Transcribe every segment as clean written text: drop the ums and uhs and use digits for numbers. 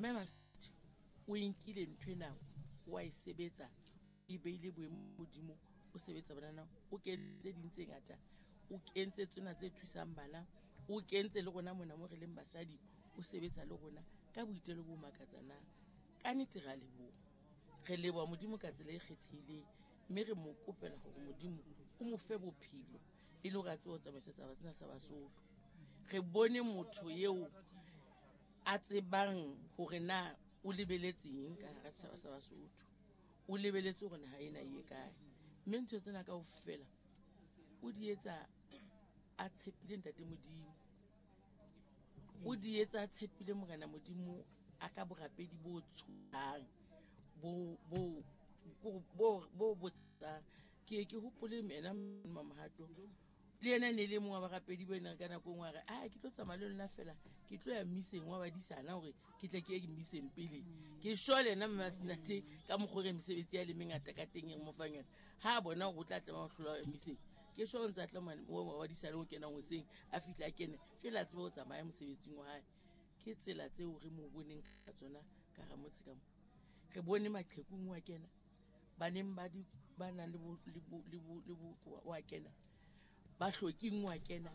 Mme Masedi o e nkile ntho ena, wa e sebetsa, e beile boemo modimo, o sebetsa banana, o kentse ding tse ngata, o kentse tsena tse thusang bana, o kentse le rona mona mo re leng basadi, o sebetsa le rona ka boitelo bo makatsanang. Ka nnete ra leboha, re leboha modimo ka tsela e kgethehileng, mme re mo kopela hore modimo o mo fe bophelo e le hore a tsebe ho tsamaisa taba tsena sa Basotho. Re bone motho eo a tsebang hore na o lebeletseng ka hara setjhaba sa Basotho, o lebeletse hore naha ena e ye kae, mme ntho tsena kaofela o di etsa a tshepile ntate modimo, o di etsa a tshepile morena modimo, a ka borapedi bo tshosang, bo bo bo bo botsang. Ke ke hopole ena Mamohato le yena ne le mong wa barapedi ba ena ka nako engwe a re, a ke tlo tsamaya le lona fela, ke tlo ya mmiseng wa badisana hore ke tle ke ye mmiseng pele ke sure le yena mme Masenate ka mokgwa re mesebetsi ya le mengata ka teng e mo fang yona. Ha a bona hore o tla tlameha ho hlola ho ya mmiseng, ke sure o ntse a tla wa badisana o kenang hoseng a fihla a kene jwale a tsebe ho tsamaya mosebetsing wa hae. Ke tsela tseo re mo boneng ka tsona ka hara motse ka mo. Re bone maqhekung wa kena, baneng ba di ba nang le bo le bo le bo le bokowa wa kena, ba hloking wa kena,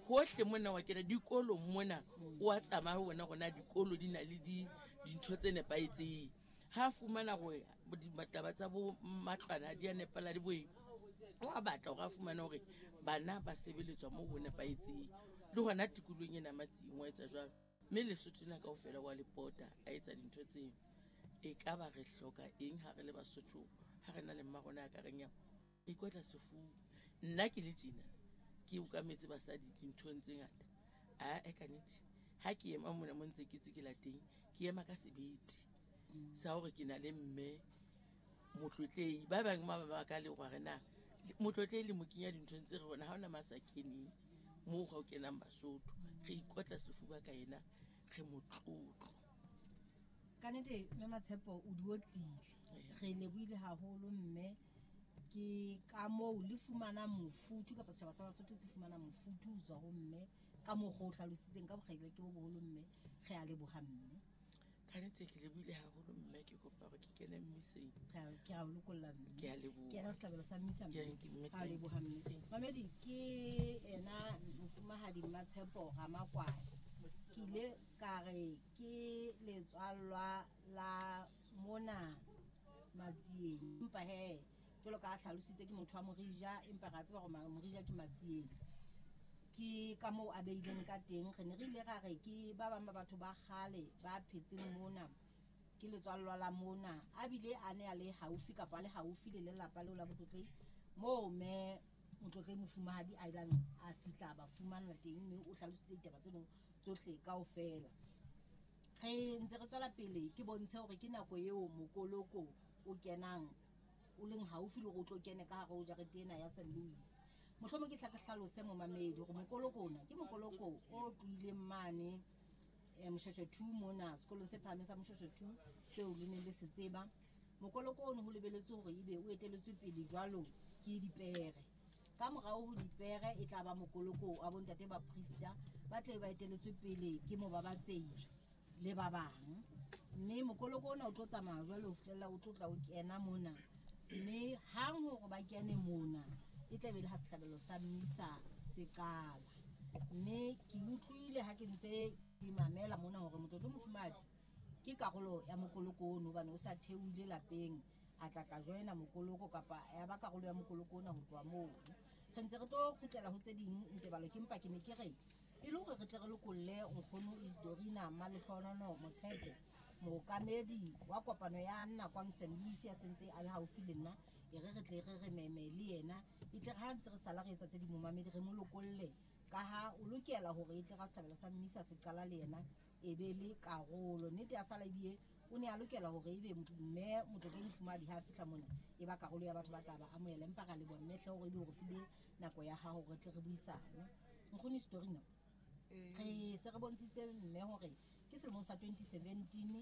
hohle mona wa kena, dikolong mona o a tsamaya ho bona hore na dikolo di na le di dintho tse nepahetseng. Ha fumana hore ditaba tsa bo matlwana di a nepala le boeng, o a batla hore a fumane hore bana ba sebeletswa moo ho nepahetseng. Le hona tikolohong ena Matsing wa etsa jwalo, mme Lesotho lena kaofela wa le pota a etsa dintho tseo. E ka ba re hloka eng ha re le Basotho, ha re na le mma rona a ka reng ya ikotla sefuba? Nna ke le tjena ke okametse basadi dinthong tse ngata. A e ka nnete ha ke ema mona mo ntse ke tse ke la teng, ke ema ka sebete sa hore ke na le mme motlotlehi. Ba bang ba ba ka le hore na motlotlehi le mo kenya dinthong tse re rona ha hona masa keneng moo ga o kenang Basotho. Re ikotla sefuba ka yena, re motlotlo. Ka nnete mme Matshepo o di otlile, re lebohile haholo mme. Ke ka moo le fumana mofuthu kapa setjhaba sa Basotho se fumana mofuthu ho tswa ho mme ka mokgwa o hlalositseng ka bokgaile ke bo boholo mme. Re a leboha mme. Ka nnete ke lebohile haholo mme, ke kopa hore ke kene mmiseng. Ke a o lokolla mme. Ke a leboha. Ke ena sehlabelo sa mmisa mme. Ke mme, Re a leboha mme. Thank you. Mamedi, ke ena mofumahadi Mmatshepo Ramakwane. Ke ile ka re ke letswallwa la mona Matsieng, empa he jwalo ka a hlalositse ke motho wa Morija, empa re a tseba hore Morija ke Matsieng. Ke ka moo a beileng ka teng. Re ne re ile ra re ke ba bang ba batho ba kgale ba phetseng mona, ke letswallwa la mona, a bile a ne a le haufi kapa a le haufi le lelapa leo la Botlotlehi, moo mme Motlotlehi mofumahadi a ilang a fihla ba fumana teng, mme o hlalositse ditaba tseno tsohle kaofela. Re ntse re tswela pele, ke bontshe hore ke nako eo mokoloko o kenang o leng haufi le hore o tlo kene ka hare ho jarete ena ya Saint Louis. Mohlomong ke tla ke hlalose momamedi hore mokoloko ona ke mokoloko o tlohileng mane Moshoeshoe 2 mona, sekolong se phahameng sa Moshoeshoe 2 seo le neng le se tseba. Mokoloko ono ho lebeletswe hore ebe o eteletswe pele jwalo ke dipere. Ka morao ho dipere e tla ba mokoloko wa bontate ba priesta ba tle ba eteletswe pele ke mobabatsehi le ba bang. Mme mokoloko ona o tlo tsamaya jwalo ho fihlella o tlo tla o kena mona. Mme hang hore ba kene mona e tla be le ha sehlabelo sa mmisa se qala. Mme ke utlwile ha ke ntse ke mamela mona hore motlotlo mofumahadi ke karolo ya mokoloko ono, hobane o sa theohile lapeng a tla tla joina mokoloko kapa ya ba karolo ya mokoloko ona ho tloha moo. Re ntse re tlo kgutlela ho tse ding ntebalo, ke mpa ke ne ke re e le hore re tle re lokolle nkgono Isidorina Malehlohono Motshepe, mookamedi wa kopano ya nna kwano Saint Louis ya sentse a le haufi le nna, e re re tle re re meme le yena, e tle re ha ntse re sala re etsa tse ding momamedi re mo lokolle, ka ha o lokela hore e tle ra sehlabelo sa mmisa se qala le yena e be le karolo. Nnete ya sala ebile o ne a lokela hore ebe mme Motlotlehi mofumahadi ha a fihla mona e ba karolo ya batho ba tla ba amohela, empa ra leboha mme hle hore ebe o re file nako ya hao hore re tle re buisane. Nkgono Isidorina, re se re bontshitse mme hore ke selemong sa 2017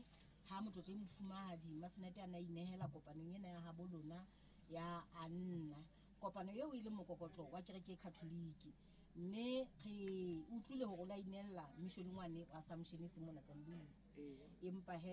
ha Motlotlehi mofumahadi Masenate a ne a inehela kopanong ena ya habo lona ya Anna, kopano eo e leng mokokotlo wa kereke e Catholic. Mme re utlwile hore o la inehela missioneng wane wa Assumption e seng mona Saint Louis. Empa he